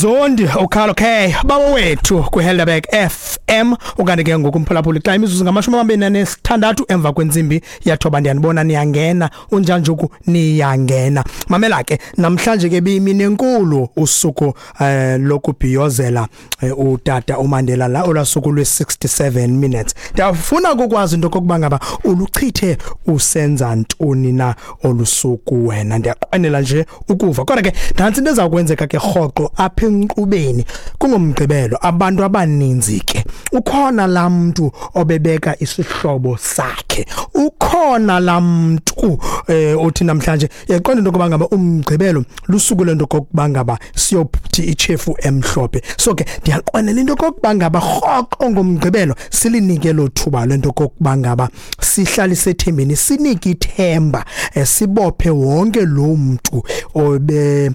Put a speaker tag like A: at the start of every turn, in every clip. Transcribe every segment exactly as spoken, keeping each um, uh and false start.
A: Mzondi uKarlo K bawo wethu kwiHelderberg F M. Ukanti ke ngoku umphulaphuli xa imizuzu ngamashumi amabini anesithandathu emva kwentsimbi yathoba, ndiyanibona niyangena, unjanjuku niyangena. Mamela ke, namhlanje ke biyimini enkulu, usuku eh, lokubhiyozela eh, utata uMandela, la olwasuku lwe-sixty-seven minutes. Ndiyafuna ukukwazi into okokuba ngaba uluchithe usenza ntoni na olusuku wena, ndiyaqwenela nje ukuva. Kodwa ke nantsi into eza kwenzeka ke rhoqo apha enkqubeni kungomgqibelo, abantu abaninzi ke ukhona laa mntu obebeka isihlobo sakhe, ukhona laa mntu eh, othi namhlanje yaqonda into yokuba ngaba umgqibelo lusuku lento kokuba ngaba siyothi ichefu emhlophe. So ke ndiyaqwenela into yokokuba ngaba rhoqo ngomgqibelo silinike lo thuba lento kokuba ngaba sihlale sethembeni, sinike ithemba, eh, sibophe wonke lo mntu obe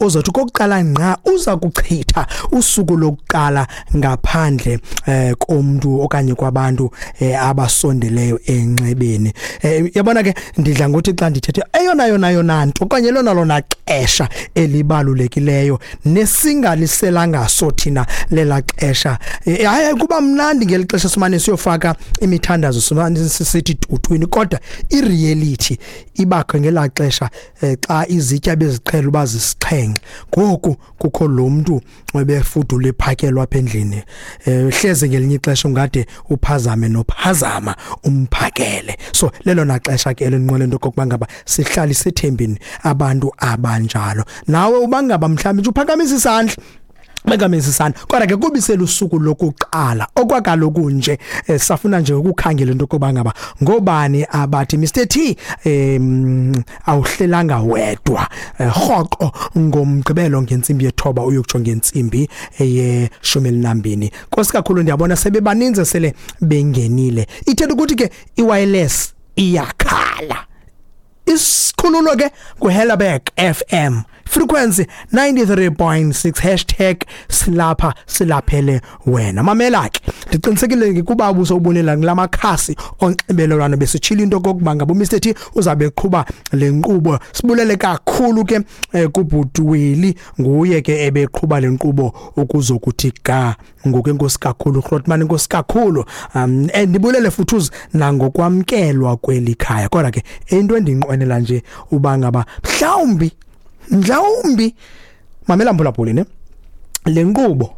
A: ozothi kokuqala ngqa uza kuchitha usuku lokuqala ngaphandle eh, komuntu okanye kwabantu eh, abasondeleyo enxebeni. Eh, yabona ke ndidla ngokuthi xa ndithethe eyona yona yona nto okanye lona lona xesha elibalulekileyo nesingaliselanga thina lela xesha, eh, hayi kuba mnandi ngeli xesha simane siyofaka imithandazo simane sithi tutwini, kodwa ireality ibakho ngela xesha eh, xa izitya beziqhela uba zisixhenxe. Ngoku kukho lo mntu ebefudula ephakelwa apha endlini, eh hleze ngelinye ixesha ungade uphazame nophazama umphakele. So lelona xesha ke elinqwele into kokuba ngaba sihlale sethembeni abantu abanjalo. Nawe ubangaba mhlawumbe uphakamisa isandla, bekamisa isandla, kodwa ke kubisela usuku lokuqala okwakaloku nje eh, safuna nje ukukhangela into kokuba ngaba ngobani abathi Mister T em awuhlelanga wedwa rhoqo ngomgqibelo ngentsimbi yethoba uyokutsho ngentsimbi eyeshumi elinambini. Nkosi kakhulu, ndiyabona sebebaninzi sele bengenile. Ithetha ukuthi ke iwireless iyakhala. Isikhululo ke kuHelderberg F M frequency ninety-three point six, hashtag silapha silaphele wena. Mamela ke, ndiqinisekile kuba ubusowubonela ngilamakhasi onxibelelwano besitshila into kokuba ngaba uMister T uzabe eqhuba le nkqubo. Sibulele kakhulu ke eh, kubhuti Willie, nguye ke ebeqhuba le nkqubo ukuzokuthi ga ngoku. Enkosi kakhulu Grootman, enkosi kakhulu. Um ndibulele futhi nangokwamkelwa kweli khaya. Kodwa ke into endinqwenela nje uba ngaba mhlawumbi mhlawumbi mamela mphulaphuli ne le nkqubo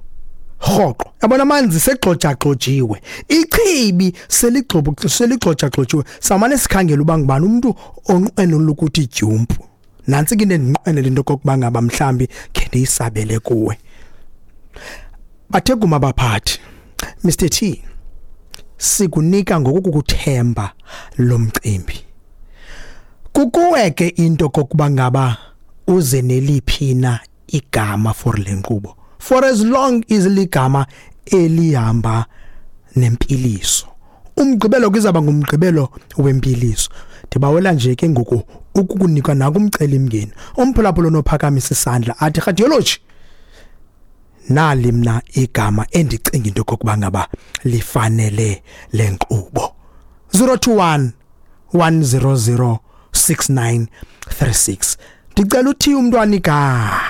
A: rhoqo, yabona amanzi segxojaxojiwe, ichibi seligxobo seligxojaxojiwe, samane sikhangela uba ngubani umuntu onqwenela ukuthi jump. Nantsi ke into endinqwenela into kokuba ngaba mhlambi khe ndiyisabele kuwe. Bathe kuma baphathi, Mister T, sikunika ngokukuthemba lo mcimbi. Kukuwe ke into kokuba ngaba uze neliphi na igama for le nkqubo, for as long as ligama elihamba nempiliso. Umgqibelo kuzaba ngumgqibelo wempiliso. Ndibawela nje ke ngoku ukukunika nakumcela imngeni umphulaphula onophakamisa isandla athi radiology, nali mna igama endicinga into kokuba ngaba lifanele le nkqubo. Zero two one, one zero zero, six nine three six. Ndicela uthi umntwana igama.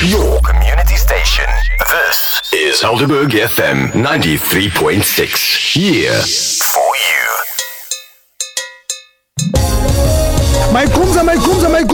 B: Your community station. This is Helderberg F M ninety-three point six. Yeah.